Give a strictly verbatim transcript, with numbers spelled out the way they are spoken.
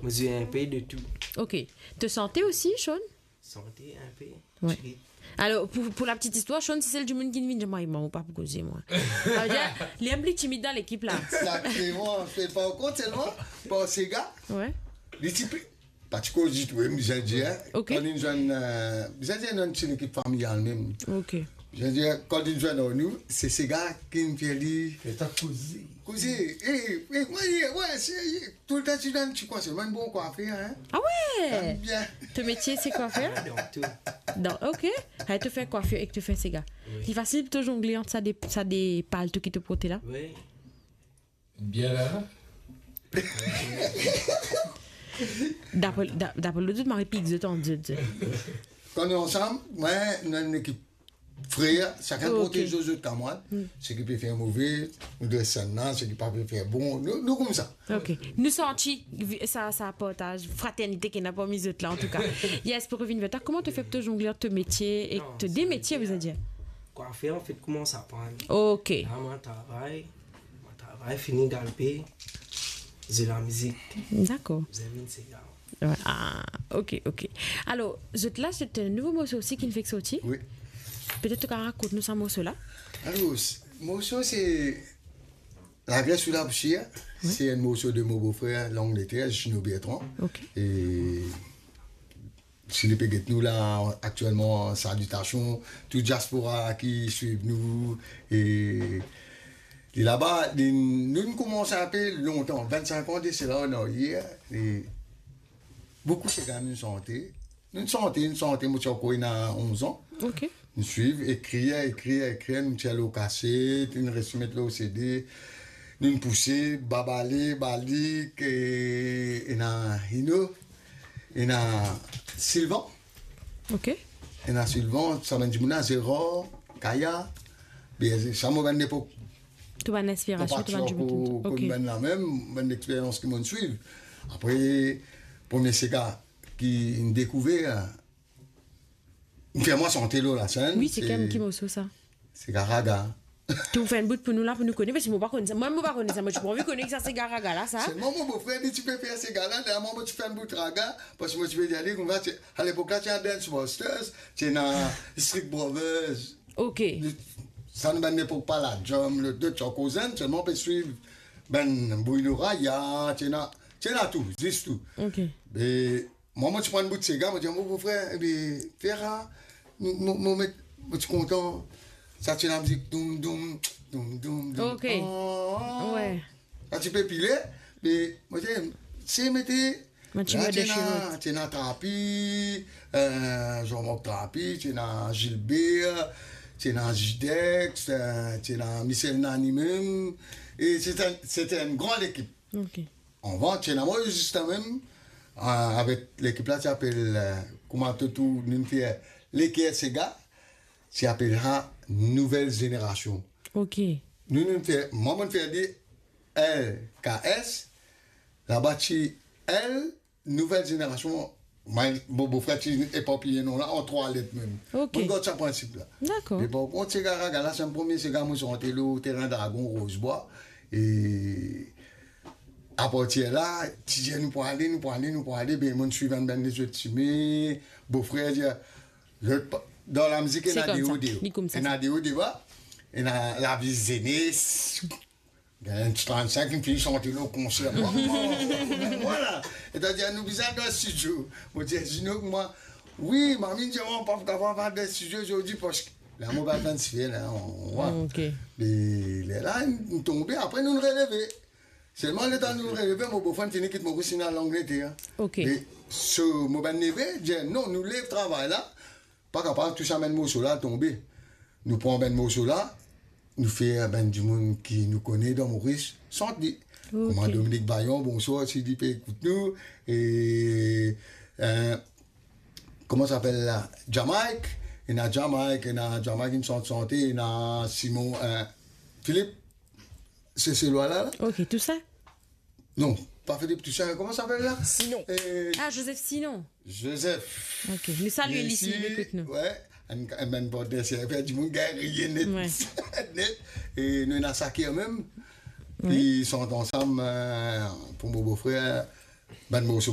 Mo zwe inpe de tou. Ok. To sante osi, Sean? Sante inpe. Ouais. Ti- Alors, pour, pour la petite histoire, Sean, si se dimoun ki vinn, mwa, mwa, mo pa pou koze, mwa. Sa ve dir, li enn pli timid dan lekip la. Exactement. Par kont, selman, par sega, ouais, li ti pli, pa ti koz ditou, wi, bizin dir, hein. Ok. Kan li zwenn, euh, bizin dir, nou enn ti lekip familial mem. Ok. Bizin dir, kan li zwenn nou, se sega ki fer li fer sa koze. Koze, eh, eh, ouais, ouais, se, toultan ti dan ti kwa, se mwa enn bon kwafer, hein. Ah ouais? Bien. To metie se kwafer? Ah, dan tou. Dan, ok. Hey, to fer kwafer ek to fer sega. Wi. Li fasil pou to zongle ant sa de, sa de palto ki to porte la? Wi. Bien la. Dapre, da-, dapre lot, zot mari pik zot ant zot. Kan nou ansam, mwa, nou enn lekip frer, sakenn protez zot kamwad, seki pe fer move, nou dres enn la, seki pa pe fer bon, nou, nou koumsa. Ok. Nou santi vi-, sa, sa partaz, fraternite ki ena parmi zot la, an tou ka. Yes, pou revinn ver twa, kouma to fer pou to zongle ant to metie ek to de metie, bizin dir? Kwafer, an fet, koumans aprann. Ok. La, mwa travay, mwa travay, fini galpe, zwe lamizik. Dakor. Zwe vinn sega. Ouais. Ah, ok, ok. Alors, zot la, se enn nouvo morso osi ki finn fek sorti. Wi. Petet to kapav rakont nou sa morso la? Alors, s-, morso se Lager sou Lapousier. Wi. Se enn morso de mo bofrer Langleter, Gino Bertrand. Ok. E si li pe get nou la, aktielman, salitasion, tou diaspora ki swiv nou, e li laba, li, nou, nou koumans inpe lontan, vennsenk an de sela, an aryer, e boukou sega nou sante. Nou sante, nou sante, mo ti ankor ena onz an. Ok. Nou swiv, ekrir, ekrir, ekrir, nou tir lor kaset, nou res met lor C D, nou pouse, Babale, Balik, e, ena Hino, ena Silvan. Ok. Ena Silvan, sa bann dimoun la, Zerar, Kaya, be, sa mo bann lepok. Tou bann inspirasion, tou bann dimoun ki... Mo pa ti ankor konn bann la mem, bann lexperyans ki mo swiv. Apre, premie sega ki mo dekouver, li fer mwa sante lor lasenn. Wi, se ki, ki morso sa? Sega raga. Tou fer enn bout pou nou la, pou nou kone, parski mo pa konn sa. Mwa, mo pa konn sa. Mwa, ti pou anvi kone ki sa sega raga la, sa. Selman mo bofrer, li ti pe fer sega la, lerla mwa, mo ti fer enn bout raga, parski mo ti pe dir li koumsa, ti, alepok la, ti ena Dance Masters, ti ena Street Brothers. Ok. Sa nou bann lepok pa la, Jam, le, de, ti ankor zenn, selman pe swiv bann Bruno Raya, ti ena, ti ena tou, zis tou. Ok. E mwa, mo ti pran enn bout sega, mo dir mo bofrer, ebe, fer sa, mo, mo, mo met, mo ti kontan, sa ti ena mizik doum, doum, doum, doum, doum. Ok. Ah. Wi. Sa ti pe pile, me mo dir, se mete, la, ti ena, ti ena Trapi, eh, Jean-Marc Trapi, ti ena Gilbert, ti ena Jidex, eh, ti ena Michel Nani mem, e se ti enn, se ti enn gran lekip. Ok. Anvan, ti ena mwa zis la mem, eh, avek lekip la, ti apel, eh, kouma to tou, nou fer Leker Sega, ti apel sa Nouvel Zenerasion. Ok. Nou, nou fer, mwa, mo fer li L K S, laba ti L, Nouvel Zenerasion, mwa, mo bofrer ti eparpiye non la an trwa let mem. Ok. Mo gard sa prinsip la. Dakor. Me par kont, sega raga la, se premie sega mo sante lor Terrain Dragon, Rose Bois. E apartir la, ti dir nou pou ale, nou pou ale, nou pou ale, be, mo swiv enn bann lezot sime, bofrer dir, zot pa, dan lamizik, ena de o, de ba. Ena de o, de ba, ena lavi zenes, gagn enn ti trannsink, enn fini sante lor konser. Vwala. Setadir, nou bizin al dan stidio. Mo dir Zino, mwa, wi, mami dir mwa, pa pou kapav al dan stidio zordi, parski la, mo pa tann sifle la, wi. Ok. E lerla, nou tonbe, apre nou releve. Selman, letan nou releve, mo bofrer fini kit Moris, finn al Langleter. Ok. Me so, mo bann neve dir, non, nou lev travay la, pa kapav tous sa bann morso la tonbe. Nou pran bann morso la, nou fer bann dimoun ki nou kone dan Moris sant li. Ok. Kouma Dominique Bayon, bonswar, si li pe ekout nou, e, eh, kouma sa apel la? Jamaïque, ena Jamaïque, ena Jamaïque, inn sant sante, ena Simon, eh, Philippe, Seselwa la, la. Ok, Toussaint? Non, pa Philippe Toussaint, kouma sa apel la? Sinon. Eh, ah, Joseph Sinon. Joseph. Ok, nou salie li si li ekout nou. Wi, enn, enn bann partner, se fer dimoun gagn riye net. Wi. Net. E nou ena Sakir mem. Wi. Ki sant ansam, eh, pou mo bofrer, bann morso